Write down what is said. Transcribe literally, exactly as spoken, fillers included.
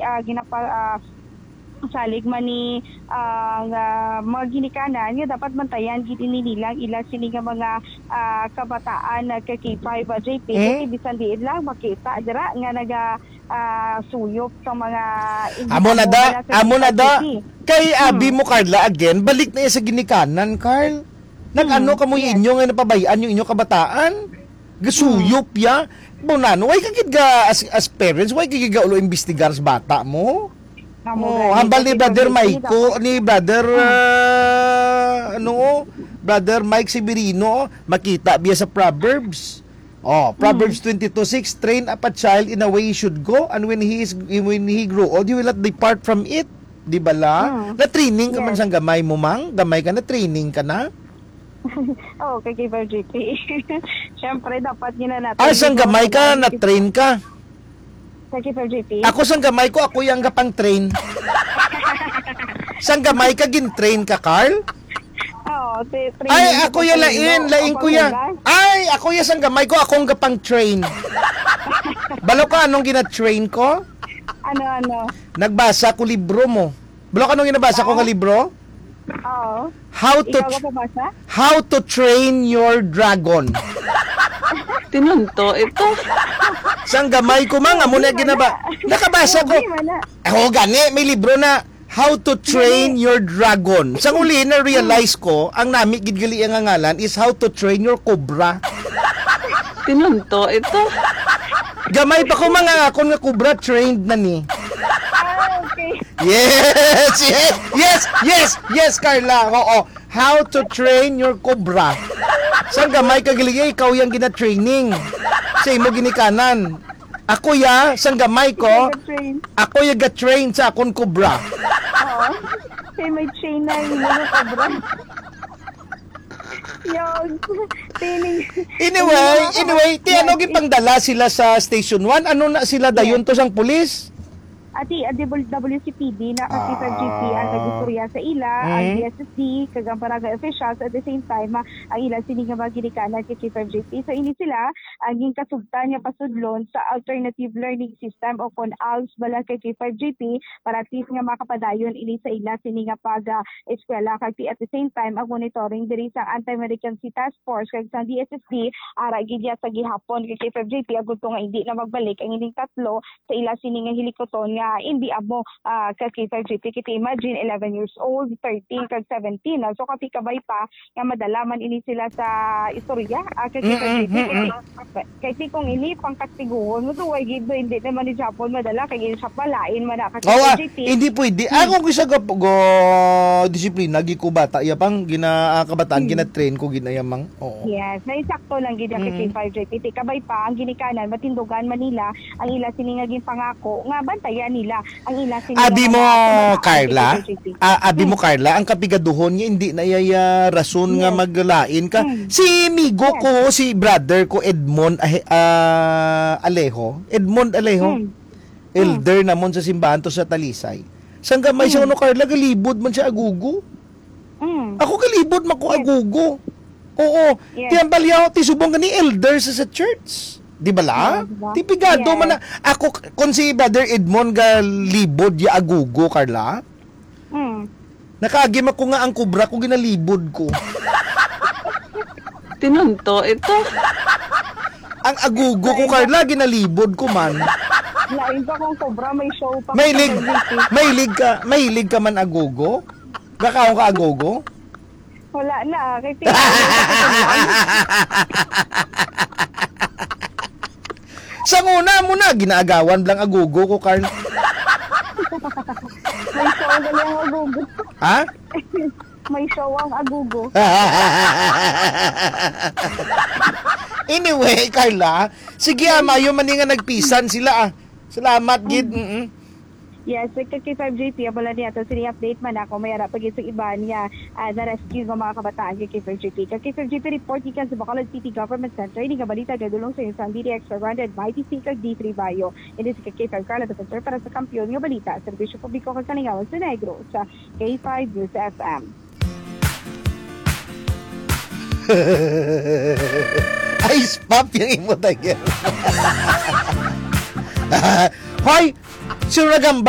ah, ginapa-, ah, salig man ni, ah, nga mga ginikanan nga dapat bantayan gid ini nila ang ila sini nga mga, ah, kabataan nga ka K five, ah, J P, Eh? Kasi bisan diin lang makita dira nga naga, ah, suyop sa mga Amo na da, amo na da. Kay abi mo, Carla, again, balik na iya sa ginikanan, Carl. Nag-ano ka mo inyo nga napabayaan yung inyo kabataan? Gasuyop ya. Bunano, why ka gid ga, as, as parents, why ka gid ga ulo imbestigar sa bata mo? Oh, hambal ni Brother Mike ko, ni Brother, ah, ano, Brother Mike Severino, makita biya sa Proverbs. Oh, Proverbs twenty-two six, "Train up a child in a way he should go, and when he is, when he grow old, he will not depart from it." Di bala? Na-training ka man sang gamay mo, mang? Gamay ka na, training ka na? Oo, kay K five G P. Siyempre, dapat gina natin. Ah, sang gamay ka, na-train ka. Sa K five G P? Ako sang gamay ko, ako yang gapang train. Sang gamay ka, gin-train ka, Carl? Oo, ti-, Ay, training ako ko ya sa lain, ilo, lain o ko ya. Panghugas. Ay, ako ya sang gamay ko, akong gapang train. Balo ka, anong gina-train ko? Ano, ano? Nagbasa ko libro mo. Balo ka, anong ginabasa ko nga libro? Oo. How to Ikaw tr- ba kabasa? How to Train Your Dragon. Tinunto ito. Sang gamay ko, mang, amo na Hindi, ginaba. wala. Nakabasa ko. Hindi, wala. Oh, gani, may libro na How to Train Gani. Your Dragon. Sang uli na realize ko, ang nami gid gali ang ngalan is How to Train Your Cobra. Tinunto ito. Gamay pa ko, mga akon nga cobra trained na ni. Ah, okay. Yes, yes, yes, yes, yes, Carla. Oo. How to Train Your Cobra. Sang gamay ka, gali, ikaw yang gina-training sa imo ginikanan. Ako ya, sang gamay ko, Ikaw ga-train. Ako ya ga-train sa akon cobra. Oo. Kay may chain na yung mga cobra. Yung training. Anyway, Yung mga anyway, ti ano kapatid. Gipangdala sila sa Station one? Ano na sila Yes. dayon to sang pulis? Ati, ang W C P D na kasi Ah. sa G P ang nag-istorya sa ila, ang Mm. D S S D, kag ang barangay officials at the same time, ah, ang ila sini nga mga ginikanan kay K five G P. So, ini sila ang ginkasugtan nga pasudlon sa alternative learning system o kon als bala kay K five G P para at least nga makapadayon ini sa ila sini nga pag, ah, eskwela. Kag ti-, at the same time, ang monitoring diri sa Anti-Malignancy Task Force kag sa D S S D, ara gid ya sa gihapon kay K five G P agud to nga hindi na magbalik ang ining tatlo sa ila sini nga hilikuton nga hindi amo, ah, ka K five G P. Kay ti imagine, eleven years old, thirteen, kag seventeen. Ah, so, kapikabay pa nga madala man ini sila sa istorya, ah, ka K five G P. Mm, mm, mm, Kay, mm. kay ti kung ini pangkastiguhon mo, so, why gid ba hindi naman ni Japon madala? Kay siya pa, lain man na ka Oh, ah, K five G P. Hindi pwede. Hmm. Ako, kung isa ga, ga, disiplina, gi ko bata, iya pang gina-, ah, kabataan, Hmm. gina-train ko, ginayamang. Oo. Yes, may sakto lang gid ang Mm. K five J P. Ti kabay pa, ang ginikanan, matindugan man nila ang ila sini nga ginpangako nga bantayan nila ang ila sini nga Abi mga mo, pamangkot, Carla? K five J P. Ah, abi mo, Mm. Carla, ang kapigaduhon nga hindi na iya, iya rason nga Yes. maglain ka. Mm. Si migo Yes. ko, si brother ko, Edmond, ah, ah, Alejo. Edmond Alejo. Mm. Elder Mm. namon sa simbahan to sa Talisay. Sang gamay siya, Mm. ano, Carla, galibod man siya agugo. Mm. Ako kalibot man ko Yes. agugo. Oo. Yes. Ti ang balyaw, ti subong gani elder sa, sa church. Di ba la? Yes, diba? Ti pigado Yes. man na. Ako, kung si Brother Edmond galibod ya agugo, Carla, Mm. nakaagi man ko nga ang kubra ko, ginalibod ko. Tinunto ito. Ang agugo ko, Carla, ginalibod ko man. Lain pa kung kubra, may show pa Mahilig, sa G P. mahilig ka, mahilig ka man agugo? Gakaon ka agogo? Wala na, kay ti-, Sa una mo na, ginaagawan lang agogo ko, Carl. May show na lang agogo. Ha? May show ang agogo. Anyway, Carla, sige, ah, mayo man ni nga nagpisan sila, ah. Salamat, gid. Mm. Mm-mm. Yes, sa K five J P, ang wala niya to, sini update man ako, may ara pa gid sa iban niya, ah, na-rescue nga mga kabataan kay K five J P. Kag K five J P report gikan sa Bacolod City Government Center, ini nga balita nagdulong sa inyo sa D T X five hundred, Mighty C, kag D three Bayo. Ini si K five Carla Defensor para sa Kampiyon nga Balita, Serbisyo Publiko kag Kalingawan sa Negros, sa K five News F M. Ay, spap yung imo, Tiger. Hoy! Sino nagamba?